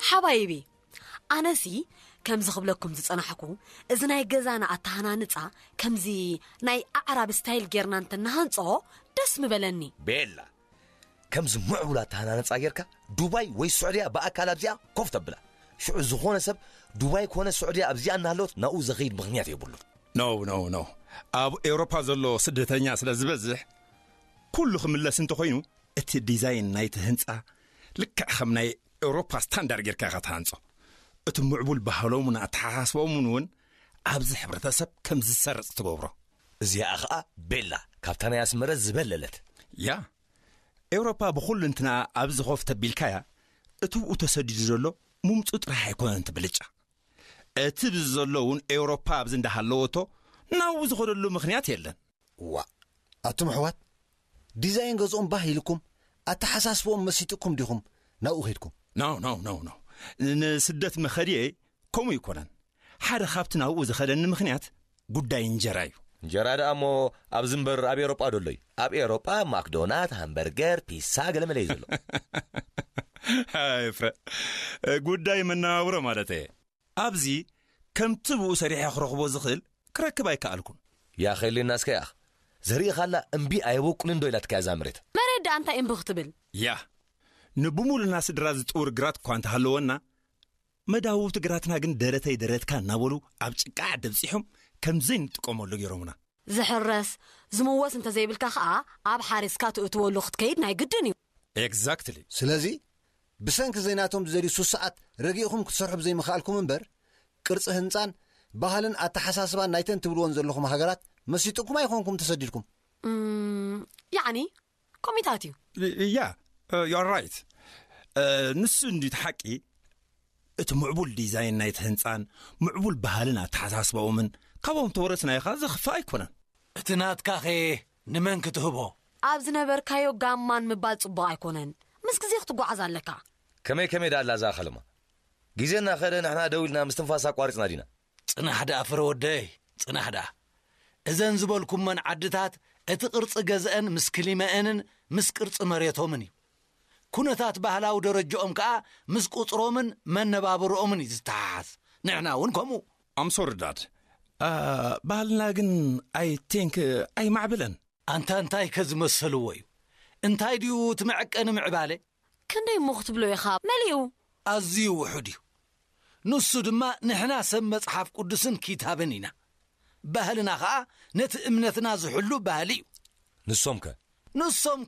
ሓባይቢ፣ ኣነሲ ከምዚ ክብለኩም ዝጸናሕኩ፣ እዚ ናይ ገዛና ኣተሃናንጻ ከምዚ ናይ ኣዕራብ ስታይል ጌርና እንተናሃንጾ ደስ ምበለኒ። ቤላ፣ ከምዚ ምዕቡል ኣተሃናንጻ ጌርካ ዱባይ ወይ ስዑድያ ብኣካል ኣብዚኣ ኮፍ ተብላ። ሽዑ ዝኾነ ሰብ ዱባይ ኮነ ስዑድያ ኣብዚኣ እናሃለወት ናብኡ ዘኸይድ ምኽንያት የብሉን። ኖ፣ ኖ፣ ኖ። ኣብ ኤውሮፓ ዘሎ ስደተኛ ስለ ዝበዝሕ፣ ኩሉ ክምለስ እንተኾይኑ፣ እቲ ዲዛይን ናይቲ ህንጻ ልክዕ ከም ናይ ኤውሮፓ ስታንዳርድ ጌርካ ኢኻ ትሃንጾ። እቲ ምዕቡል ባህሎምን ኣተሓሳስባኦምን እውን ኣብዚ ሕብረተሰብ ከም ዝሰርጽ ትገብሮ። እዚኣ ኸኣ ቤላ ካብታ ናይ ኣስመረ ዝበለለት። ያ፣ ኤውሮፓ ብኹሉ እንትና ኣብዚ ኾፍ ተቢልካያ፣ እቲ ብኡ ተሰዲዱ ዘሎ ምምጹ ጥራሕ ኣይኮነን እቲ ብልጫ። እቲ ብዚ ዘሎ እውን ኤውሮፓ ኣብዚ እንዳሃለወቶ ናብኡ ዝኸደሉ ምኽንያት የለን። ዋ፣ ኣቱም ኣሕዋት፣ ዲዛይን ገዝኦም ባህ ኢልኩም፣ ኣተሓሳስብኦም መሲጥኩም ዲኹም ናብኡ ኸይድኩም? ኖ፣ ኖ፣ ኖ፣ ኖ። ንስደት መኸድየ ከምኡ ይኮነን። ሓደ ካብቲ ናብኡ ዝኸደኒ ምኽንያት ጉዳይ እንጀራ እዩ። እንጀራ ደኣ እሞ ኣብዚ እምበር ኣብ ኤውሮጳ ዶ ኣሎ እዩ? ኣብ ኤውሮጳ ማክዶናት፣ ሃምበርገር፣ ፒሳ ገለ መለ እዩ ዘሎ። ኣይ ፍረ፣ ጉዳይ መነባብሮ ማለት እየ። ኣብዚ ከምቲ ብኡ ሰሪሐ ክረኽቦ ዝኽእል ክረክብ ኣይከኣልኩን። ያ ኸይልና እስከ ያኽ። ዘርኢ ኻላ እምቢ ኣየበቁልን ዶ ኢላትካ እዛ መሬት? መሬት ደኣ እንታይ እምቢ ክትብል? ያ፣ ንብሙሉና ስድራ ዝጥውር ግራት እኳ እንተሃለወና፣ መዳውብቲ ግራትና ግን ደረተይ ደረትካ እናበሉ ኣብ ጭቃ ዓዲ ኣብጺሖም ከም ዘይንጥቀመሉ ገይሮምና። ዝሕረስ፣ ዝምወስ እንተዘይብልካ ኸኣ ኣብ ሓሪስካ ትእትወሉ ክትከይድ ናይ ግድን እዩ። ኤግዛክትሊ። ስለዚ፣ ብሰንኪ ዘይናቶም ዝደልዩ ሱሳዓት ረጊእኹም ክትሰርሑ ብዘይምኽኣልኩም እምበር፣ ቅርጺ ህንጻን ባህልን ኣተሓሳስባን ናይተን ትብልወን ዘለኹም ሃገራት መሲጥኩም ኣይኾንኩም ተሰዲድኩም። እም፣ ያዕኒ፣ ኮሚታት እዩ። ያ፣ ዩ ኣር ራይት። ንሱ እንዲ እቲ ሓቂ። እቲ ምዕቡል ዲዛይን ናይቲ ህንጻን ምዕቡል ባህልን ኣተሓሳስባኦምን ካብኦም ተወረስናዮ ኸኣ ዘኽፍእ ኣይኮነን። እቲ ናትካኸ ንመን ክትህቦ? ኣብ ዝነበርካዮ ጋማን ምባል ጽቡቕ ኣይኮነን። ምስ ግዜ ክትጓዓዝ ኣለካ። ከመይ ከመይ ደኣ ኣላ እዛ ኸለማ? ግዜ እናኸደ ንሕና ደው ኢልና ምስትንፋስ ኣቋሪጽና ዲና? ጽናሕ ደኣ ፍረ ወደይ፣ ጽናሕ ደኣ። እዘን ዝበልኩመን ዓድታት እቲ ቅርጺ ገዝአን ምስ ክሊመአንን ምስ ቅርጺ መሬቶምን እዩ። ኩነታት ባህላዊ ደረጃኦም ከኣ ምስ ቁጽሮምን መነባብርኦምን እዩ ዝተሓሓዝ። ንሕና እውን ከምኡ። ኣም ሶሪ ዳድ። አ፣ ባህልና ግን ኣይ ቲንክ ኣይማዕበለን። ኣንታ እንታይ ከ ዝመሰልዎ እዩ? እንታይ ድዩ እቲ መዐቀኒ ምዕባለ? ክንደይ እሞ ክትብሎ ኢኻ? መሊኡ። ኣዝዩ ውሑድ እዩ። ንሱ ድማ ንሕና ሰብ መጽሓፍ ቅዱስን ኪታብን ኢና። ባህልና ኸኣ ነቲ እምነትና ዝሕሉ ባህሊ እዩ። ንሶም ከ? ንሶም ከ